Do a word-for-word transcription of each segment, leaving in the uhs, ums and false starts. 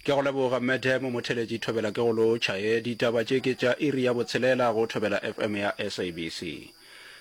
Ke go leboga Madam Motheletši Thobela ke go lotšha e ditaba tše ke tša iri ya botshelela go Thobela F M ya S A B C.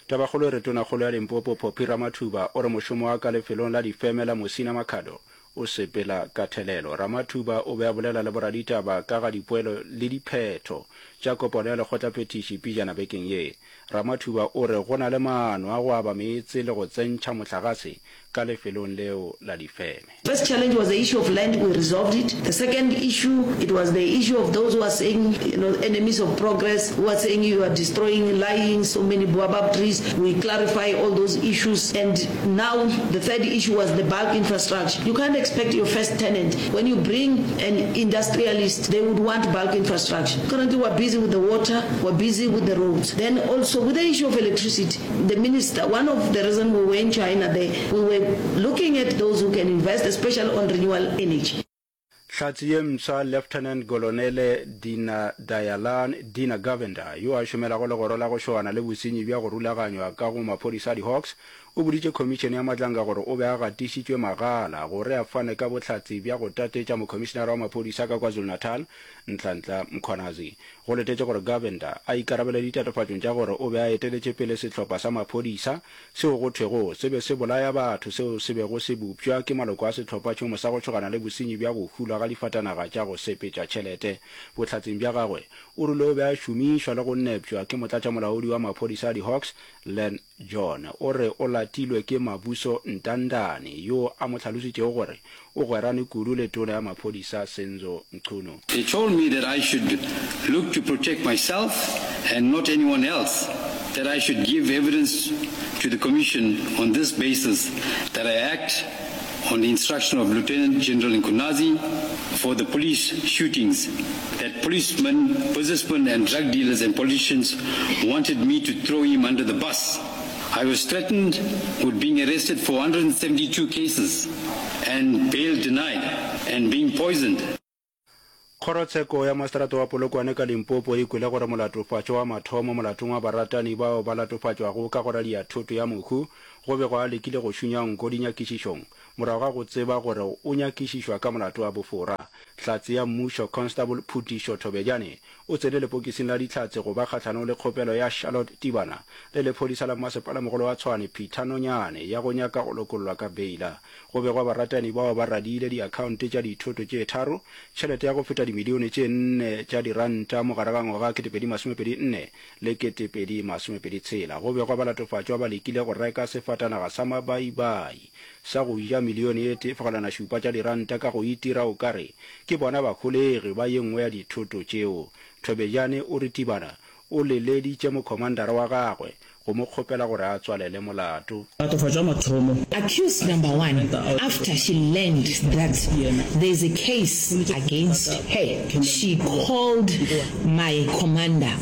Tabakgolo e re Tonakgolo ya Limpopo Phophi Ramathuba o re mošomo wa ka lefelong la difeme la Musina Makhado o sepela ka thelelo. Ramathuba o be a bolela le boraditaba ka ga dipoelo le diphetho tša kopano ya lekgotlaphethiši pejana bekeng ye. Ramathuba o re go na le maano a go aba meetse le go tsentšha mohlagase ka lefelong leo la difeme. First challenge was the issue of land, we resolved it. The second issue, it was the issue of those who are saying, you know, enemies of progress, who are saying you are destroying, lying, so many baobab trees. We clarify all those issues. And now the third issue was the bulk infrastructure. You can't expect your first tenant, when you bring an industrialist, they would want bulk infrastructure. Currently we're busy with the water, we're busy with the roads. Then also with the issue of electricity, the minister, one of the reasons we were in China there, we were looking at those who can invest, especially on renewable energy. Hlatse ye mpsha Lieutenant Kolonele Dina Dayalan Dina Govender, yo a šomelago legoro la go šogana le bosenyi bja go rulaganywa ka go maphodisa a di-Hawks, o boditše Khomišene ya Madlanga gore o be a gatišitšwe magala gore a fane ka bohlatse bja go tatetša Mokhomišenara wa Maphodisa ka KwaZulu-Natal, Nhlanhla Mkhwanazi. Go letetše gore Govender a ikarabele ditatofatšong tša gore o be a eteletše pele sehlopha sa maphodisa seo go thwego se be se bolaya batho seo se bego se bopša ke maloko a sehlophatšhomo sa go tšhogana le bosenyi bja go hulwa ga difatanaga tša go sepetša tšhelete. Bohlatseng bja gagwe, o rile o be a šomišwa le go nepšwa ke motlatšamolaodi wa maphodisa a di-Hawks, Len John. O re o latilwe ke Mabuso Ntandane, yo a mo hlalositšego gore o gwerane kudu le tona ya maphodisa Senzo Mchunu. They told me that I should look to protect myself and not anyone else, that I should give evidence to the commission on this basis that I act on the instruction of Lieutenant General Nkunazi for the police shootings, that policemen, businessmen and drug dealers and politicians wanted me to throw him under the bus. I was threatened with being arrested for one hundred seventy-two cases and bail denied and being poisoned. Kgorotsheko ya Maseterata wa Polokwane ka Limpopo e kwele gore molatofatšwa wa mathomo molatong wa baratani bao ba latofatšwago ka go radia thoto ya mohu go bego a lekile go šunya nko dinyakišišong morago ga go tseba gore o nyakišišwa ka molato wa bofora. Hlatse ya mmušo Constable Phutišo Thobejane o tsene lepokising la dihlatse go ba kgahlanong le kgopelo ya Charlotte Tibana le lephodisa la mmasepalamogolo wa Tshwane Peter Nonyane ya go nyaka go lokollwa ka beila. Go begwa baratani bao ba radiile diakhaonte tša dithoto tše tharo, tšhelete ya go feta dimilione tše nne tša diranta mo gare ga ngwaga kete pedi masomepedi nne le kete pedi masomepedi tshela. Go begwa balatofatšwa ba lekile go reka sefatanaga sa mabaibai sa go ja milione e tee fegelwana šupa tša diranta ka go itira o kare ke bona baholegi ba ye nngwe ya dithoto tšeo. Thobejane o re Tibana o leleditše mokhomandara wa gagwe go mo kgopela gore a tswalele molato. Latofatšwa mathomo. Accused number one, after she learned that there is a case against her, she called my commander,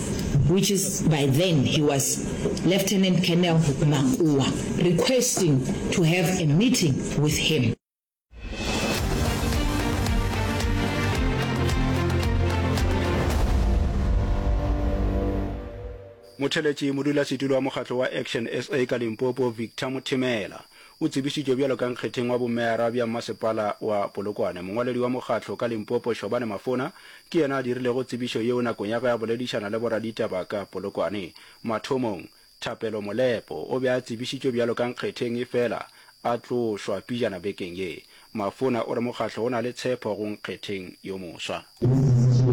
which is by then he was Lieutenant Colonel Makua, requesting to have a meeting with him. Motheletši modulasetulo wa mokgatlo wa Action S A ka Limpopo Victor Mothemela o tsebišitšwe bjalo ka nkgetheng wa bomeyara bja mmasepala wa Polokwane. Mongwaledi wa mokgatlo ka Limpopo Shobane Mafona ke yena a dirilego tsebišo yeo nakong ya ge a boledišana le boraditaba ka Polokwane. Mathomong Thapelo Molepo o be a tsebišitšwe bjalo ka nkgetheng efela a tlošwa pijana bekeng ye. Mafona o re mokgatlo o na le tshepo go nkgetheng yo moswa.